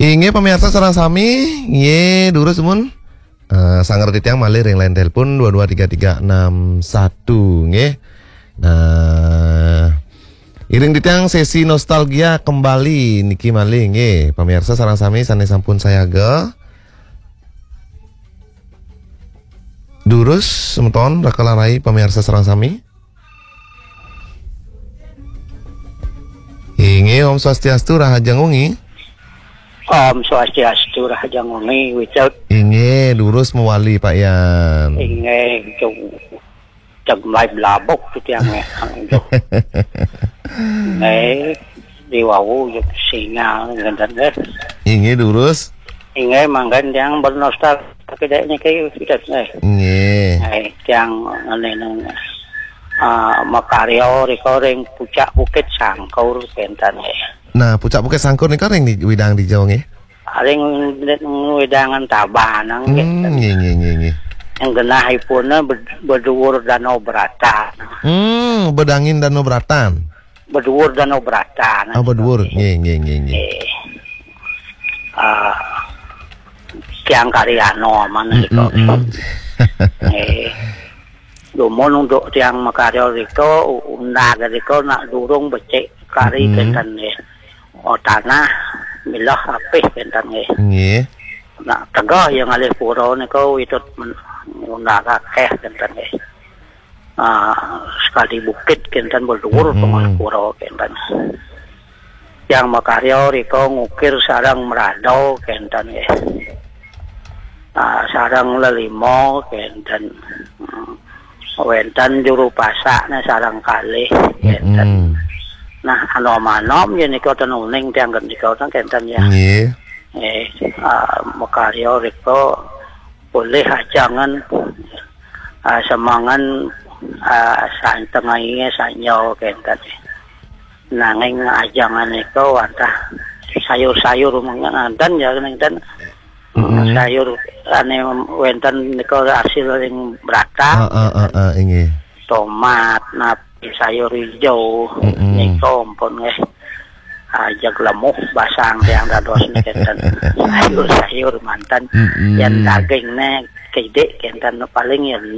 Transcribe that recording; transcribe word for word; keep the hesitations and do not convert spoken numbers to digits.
Inggih, pamirsa sareng sami, nggih, durus mun. Eh, sangger titiang malih ring line telepon dua dua tiga tiga enam satu, nggih. Nah, iring titiang sesi nostalgia kembali niki malih, nggih. Pamirsa sareng sami sane sampun sayaga. Durus semeton, raka lan rai, pamirsa sareng sami. Inggih, Om Swastiastu, rahajeng wengi. Om Swastiastu, rahajeng wengi, Wicak. Inggih, durus mawali, Pak Yan. Inggih, cung. Ceg mai blabuk titiang nggih. Nggih, diwawu juk sinyal ngenten nggih. Inggih, durus. Inggih, manggen tiang bernostalgia kedek niki, Wicak, nggih. Nggih. Nggih, tiang ngene, ah, makarya rika ring pucak Bukit Sangkur kenten nggih. Nah, pucak Bukit Sangkur nika ring di, widang dija nggih? Ring wedangan Tabanan nggih. Hmm, nggih, nggih, nggih, nggih. Yang genahipun bed-, beduur Danau Bratan. Hmm, bedangin Danau Bratan. Beduur Danau Bratan. Oh, beduur. Nggih, nggih, nggih, nggih. Nggih. Ah, Tiang Karyano aman. Hmm, gitu. Hmm, hmm. Nggih. Dumun untuk tiang makarya rika, u-, undag rika nak durung becik kari, hmm, kenten nggih. Oh, tanah milah apih kenten nggih. Nggih. Nak tegeh ya ngalih pura nika witut men-, undag akeh kenten nggih. Ah, sekali bukit kenten beluhur, hmm, pengalih pura kenten. Tiang makarya rika ngukir sareng mrada kenten nggih. Ah, sareng lelima kenten. Hmm. Wenten juru pasakne sareng kalih kenten. Mm-mm. Nah, anom-anom yen nika ten uning tiang nika ten kenten ya. Nggih. Eh, ah, makarya rika polih ajangan, ah, semangan, ah, santengainge sanyo kenten. Nanging ajangan nika wantah sayur-sayur mangken ya, kenten. Mm-mm. Sayur ane wenten nika hasil ring bratan. Ah, ah, ah, ah, inggih. Tomat, napi, sayur ijo, mm-mm, nika ampun nggih. Ajeg lemuh basang tiang dados niki kenten. Sayur-sayur manten. Mm-mm. Yen dagingne kidik kenten paling yen